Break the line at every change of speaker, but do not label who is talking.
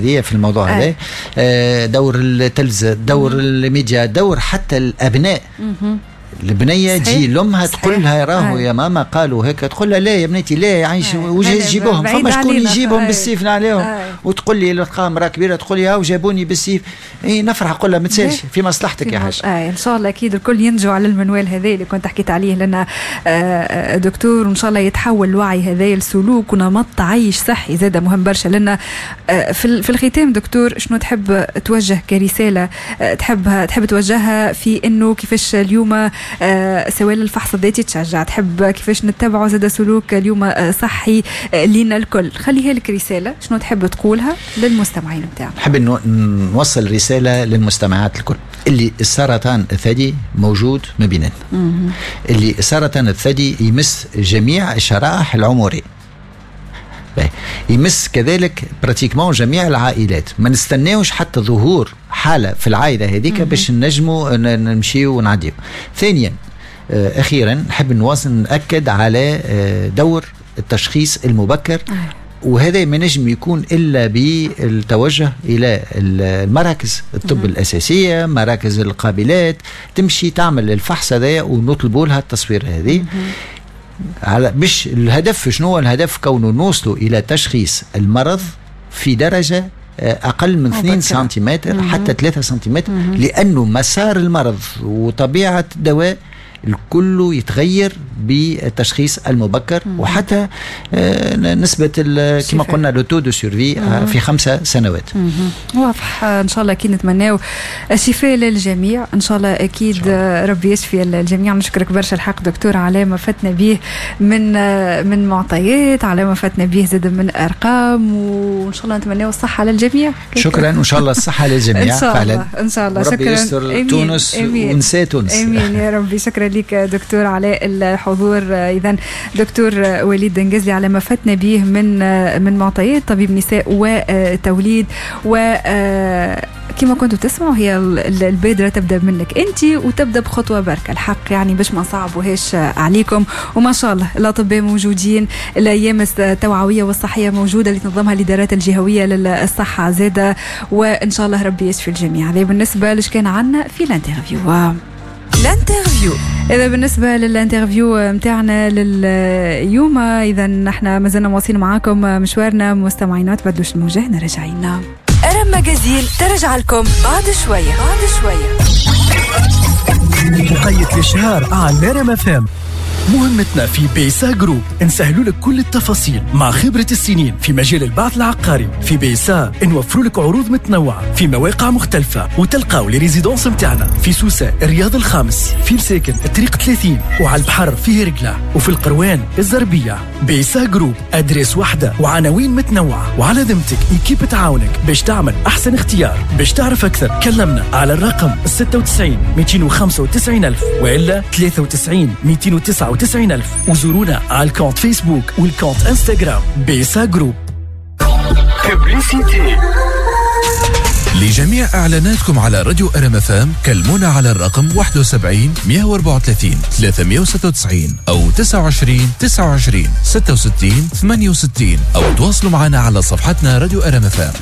هذه في الموضوع هذا، دور التلفزة، دور الميديا، دور حتى الابناء. البنية تجي لامها تقول لها راهو يا ماما قالوا هيك، تقول لها لا يا بنيتي لا يعيش وجه يجيبوهم، فما شكون يجيبهم بالسيف عليهم. وتقول لي الارقام مراة كبيرة تقول لي هاو جابوني بالسيف، اي نفرح نقول لها ما تسالش في مصلحتك يا حاج.
ان شاء الله اكيد الكل ينجو على المنوال هذا اللي كنت حكيت عليه لنا دكتور، وان شاء الله يتحول الوعي هذا لسلوك ونمط عيش صحي زاد مهم برشا لنا. في الختام دكتور، شنو تحب توجه كرسالة تحب توجهها في انه كيفاش اليوم سواء الفحص الذاتي تشجع، تحب كيفاش نتبعوا زاد سلوك اليوم صحي لينا الكل؟ خليها لك رسالة، شنو تحب تقولها للمستمعين نتاعنا؟
نحب نوصل رسالة للمستمعات الكل اللي السرطان الثدي موجود ما بيناتنا، اللي السرطان الثدي يمس جميع الشرائح العمرية، يمس كذلك pratiquement جميع العائلات. ما نستناوش حتى ظهور حالة في العائلة هذيك باش نجموا نمشيو ونعديو. ثانيا أخيرا نحب نواصل نأكد على دور التشخيص المبكر، وهذا ما نجم يكون الا بالتوجه الى المراكز الطب الاساسيه، مراكز القابلات، تمشي تعمل الفحص هذا ونطلبوا لها التصوير هذه على باش الهدف شنو؟ الهدف كونه نوصلوا الى تشخيص المرض في درجه اقل من 2 سنتيمتر حتى 3 سنتيمتر، لانه مسار المرض وطبيعه الدواء الكل يتغير بالتشخيص المبكر، وحتى نسبة كما قلنا le taux de survie في 5 سنوات.
واضح. ان شاء الله اكيد نتمناو الشفاء للجميع، ان شاء الله اكيد ربي يشفي الجميع. نشكرك برشا الحق دكتور على ما فتنا به من معطيات، على ما فتنا به زاد من ارقام، وان شاء الله نتمناو الصحة للجميع.
شكرا، وان شاء الله الصحة للجميع.
ان شاء الله. ان شاء الله.
شكرا. يستر تونس ونساء تونس.
امين يا ربي. شكرا لك دكتور على الحضور. اذا دكتور وليد دنجزلي على ما فتنا به من معطيات، طبيب نساء وتوليد. و كما كنتوا تسمعوا، هي البادرة تبدا منك انت وتبدا بخطوة بركة الحق، يعني باش ما نصعبوهاش عليكم. وما شاء الله الاطباء موجودين، الايام التوعوية والصحية موجودة اللي تنظمها الادارات الجهوية للصحة زاده، وان شاء الله ربي يشفي الجميع. هذا بالنسبة لش كان عندنا في l'interview.
l'interview.
اذا بالنسبة لل interview نتاعنا لليوم، اذا نحن مازلنا مواصلين معاكم مشوارنا مستمعينا، تبدلوش الموجه، راجعين.
ارم magazine ترجع لكم بعد شويه، بعد شويه.
وقيت الاشهار على نرم FM. مهمتنا في بيسا Group نسهلوا لك كل التفاصيل مع خبرة السنين في مجال البعث العقاري. في بيسا نوفروا لك عروض متنوعة في مواقع مختلفة، وتلقاو les résidences متاعنا في سوسة، الرياض الخامس، في مساكن الطريق 30، وعلى البحر في هرقلة، وفي القروان الزربية. بيسا Group، adresse واحدة وعناوين متنوعة، وعلى ذمتك équipe تعاونك باش تعمل أحسن اختيار. باش تعرف أكثر كلمنا على الرقم 96 295 ألف وإلا 93 299 ألف، وزورونا على ال compte فيسبوك وال compte انستغرام بيسا Group.
Publicité.
لجميع إعلاناتكم على راديو ارم FM كلمونا على الرقم 71 134 396 أو 29 29 66 68، أو تواصلوا معنا على صفحتنا راديو ارم FM.